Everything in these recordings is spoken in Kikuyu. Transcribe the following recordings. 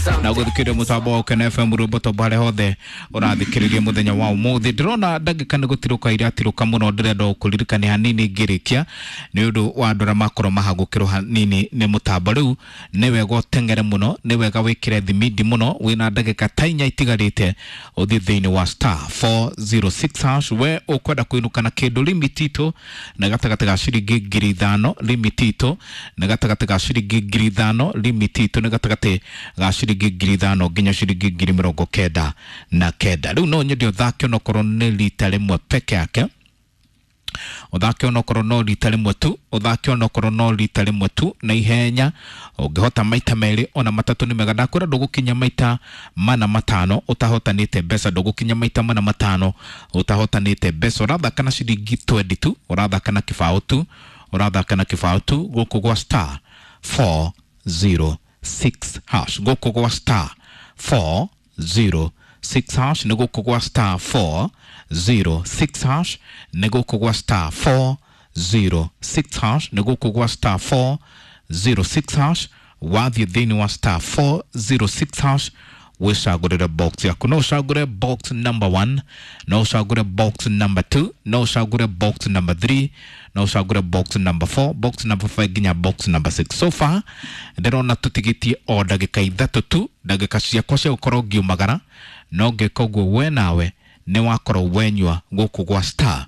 Na gũthikĩrĩria mũtambo wa Ũkena FM rwĩmbo tombo harĩa hothe ũrathikĩrĩria mũthenya wa ũmũthĩ. Ndĩrona ndagĩka nĩ gũtirũka iratirũka mũno, ndĩrenda gũkũririkania hanini ngĩrĩkia nĩ ũndũ wa andũ arĩa makorwo mahagũkĩrwo hanini nĩ mũtambo. Rĩu nĩ wega ũteng'ere mũno, nĩ wega wĩkĩre thimindi mũno, wĩna ndagĩka ta 4 itigarĩte ũthiĩ thĩinĩ wa star 406 hash. We ũkwenda kũinũka na kĩndũ limit itũ nĩ gatagatĩ ga ciringi 5,000, limit itũ nĩ gatagatĩ ga ciringi 5,000, limit itũ nĩ gatagatĩ ga ciringi 5,000 nginya ciringi 99,000. Rĩu no nyende ũthake onokorwo nĩ rita rĩmwe peke yake, ũthake onokorwo no rita rĩmwe tu, ũthake onokorwo no rita rĩmwe tu na ihenya. Ũngĩhota maita 2 ona 3 nĩ mega. Ndakwĩra ndũgũkinya maita 4 5 ũtahotanĩte mbeca, ndũgũkinya maita 4 5 ũtahotanĩte mbeca. Ũrathaka na ciringi 20 tu, ũrathaka na kĩbaũ tu, ũrathaka na kĩbaũ tu gũkũ gwa star 406 hash, gũkũ gwa star 406 hash, nĩ gũkũ gwa star 406 hash, nĩ gũkũ gwa star 406 hash, nĩ gũkũ gwa star 406 hash. Wathiĩ thĩinĩ wa star 406 hash wĩcagũrĩre box yaku. No ũcagũre box number 1, no ũcagũre box number 2, no ũcagũre box number 3, no ũcagũre box number 4, box number 5 nginya box number 6. So far ndĩrona tũtigĩtie o ndagĩka 3 tu, ndagĩka ciakwa cia gũkorwo ngiumagara, no ngĩka ũguo we nawe nĩ wakorwo wenyua gũkũ gwa star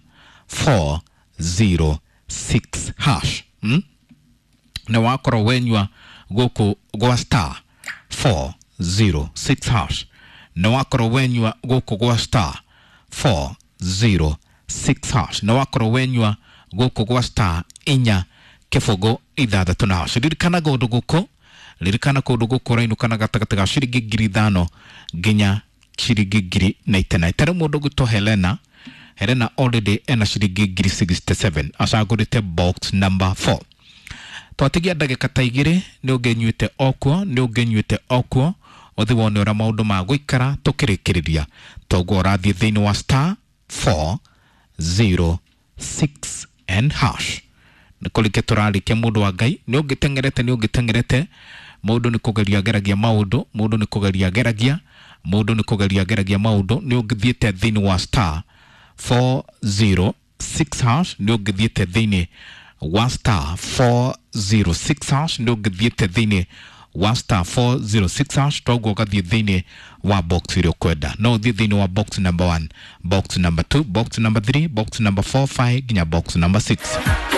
406 hash. Nĩ wakorwo wenyua gũkũ gwa star 406 hash, nĩ wakorwo wenyua gũkũ gwa star 406 hash, nĩ wakorwo wenyua gũkũ gwa star 4 0 6 na hash. Ririkana kũndũ gũkũ, ririkana kũndũ gũkũ ũrainũka na gatagatĩ ga ciringi 5,000 nginya ciringi 99,000. Ta rĩu mũndũ ũgwĩtwo Helena, Helena already ena ciringi 67,000, acagũrĩte box number 4. Twatigia ndagĩka ta 2 nĩ ũngĩnyuĩte okuo, nĩ ũngĩnyuĩte okuo, ũthiĩ wone ũrĩa maũndũ ma gũikara tũkĩrĩkĩrĩria. Toguo ũrathiĩ thĩinĩ wa star 406 and hash. Nĩ kũrĩkia tũrarĩkia mũndũ wa Ngai, nĩ ũngĩteng'erete, nĩ ũngĩteng'erete, mũndũ nĩ kũgeria ageragia maũndũ, mũndũ nĩ kũgeria ageragia, mũndũ nĩ kũgeria ageragia maũndũ. Nĩ ũngĩthiĩte thĩinĩ wa star 406 hash, nĩ ũngĩthiĩte thĩinĩ wa star 406 hash, nĩ ũngĩthiĩte thĩinĩ wa star 406 hash, toguo ũgathiĩ thĩinĩ wa box ĩrĩa ũkwenda. No ũthiĩ thĩinĩ wa box number 1, box number 2, box number 3, box number 4, 5 nginya box number 6.